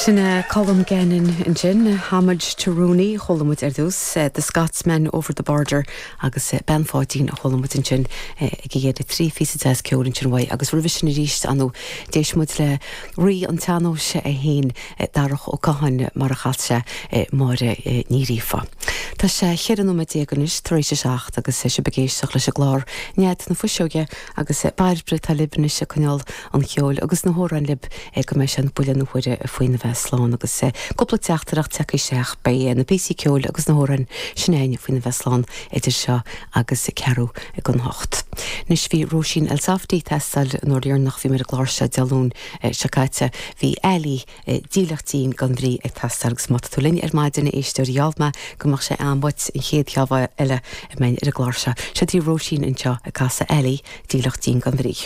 Sin é Colm Gannon ansin, Homage to Rooney a chuala muid ar dtús, The Scotsman Over the Border agus Bean Pháidín a chuala muid ansin ag a dheireadh. 3 phíosa deas ceoil ansin uaidh agus roimhe sin arís, ar ndóigh, d'éist muid le Rí an tSean-Nóis é féin, Darach Ó Catháin, mar a chas sé Máire Ní Ghríofa. Tá sé 14 nóiméad anois tar éis a 7 agus sibh ag éisteacht leis an gclár Nead na Fuiseoige agus Bairbre atá libh anois ag coinneáil an cheoil agus na hamhráin libh go mbeidh sé an buille na huaire faoina bheith slán agus cúpla teachtaireacht tagtha isteach. Beidh na píosaí ceoil agus na hamhráin sin againn faoina bheith slán idir seo agus ceathrú don hocht. Anois bhí Róisín Elsafty ag teastáil an uair dheireanach bhí mé ar an gclár seo Dé Luain seo caite. Bhí Ali Dílleacht Dín gan Bhrí ag teastáil agus má tá tú linn ar maidin a éisteoir gheall mé go mbeadh sé am uait an chéad cheann eile a mbeinn ar an gclár seo. Seo daoibh Róisín anseo ag casadh Ali Dílleacht Dín gan Bhrí.